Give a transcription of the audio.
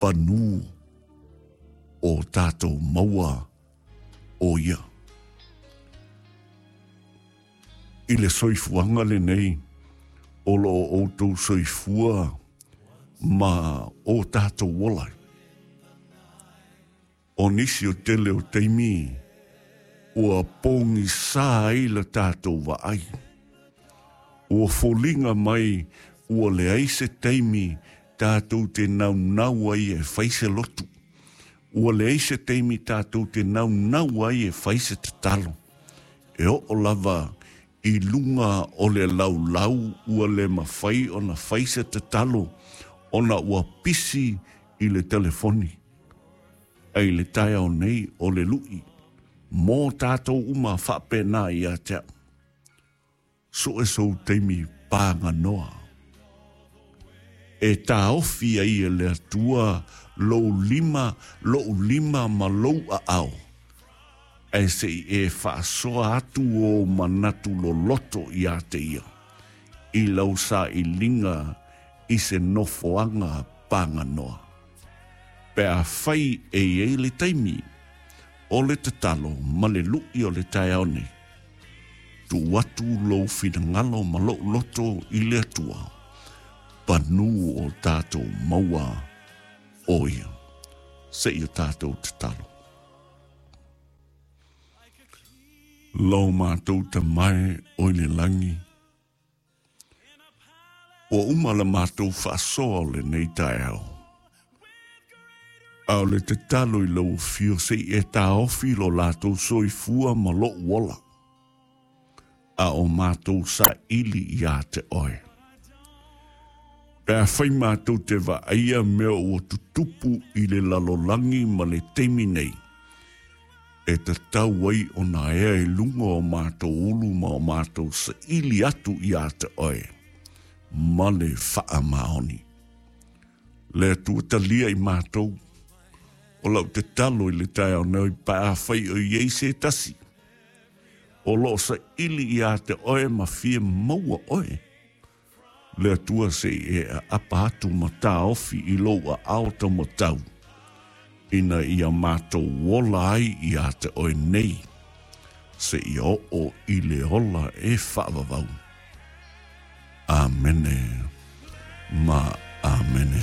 Panu o tatou maua o ia. I le soifuaga lenei o lo o outou soifua ma o tatou ola. O nisi o tele o taimi ua pogisa ai la tatou vaai. Ua foliga mai ua leai se taimi tatou te naunau ai e fai se lotu. Ua leai se taimi tatou te naunau ai e fai se tatalo. E oo lava i luga o le laulau ua le mafai ona fai se tatalo ona ua pisi i le telefoni. Ae i le taeao nei o le lui mo tatou uma faapena ia te au. Sue sou taimi paganoa. E taofi ai e le Atua lou lima, lou lima ma lou aao, ae se i e faasoa atu ou manatu loloto ia te ia, i lau sailiga i se nofoaga paganoa. Pe afai e i ai le taimi o le tatalo ma le lui o le taeao nei, tuu atu lou finagalo ma lou loto i le Atua, panu o tatou maua o ia. Se i o tatou tatalo. Lo matou Tama e o i le lagi, Ua uma la matou faasoa o lenei taeao. A o le tatalo i lau afio se i e taofi lo latou soifua ma lou ola, a o matou saili ia te oe. Pe afai matou te vaaia mea ua tutupu i le lalolagi ma le taimi nei, e tatau ai ona ea i luga o matou ulu ma o matou saili atu ia te oe ma le faamaoni. Le Atua talia i matou, o lau tatalo i le taeao nei pe afai o i ai se tasi o lo o saili ia te oe ma fia maua oe, Le Atua se i e aapa atu ma taofi i lou aao taumatau, ina ia matou ola ai ia te oe nei, seia oo i le ola e faavavau. Amene ma Amene.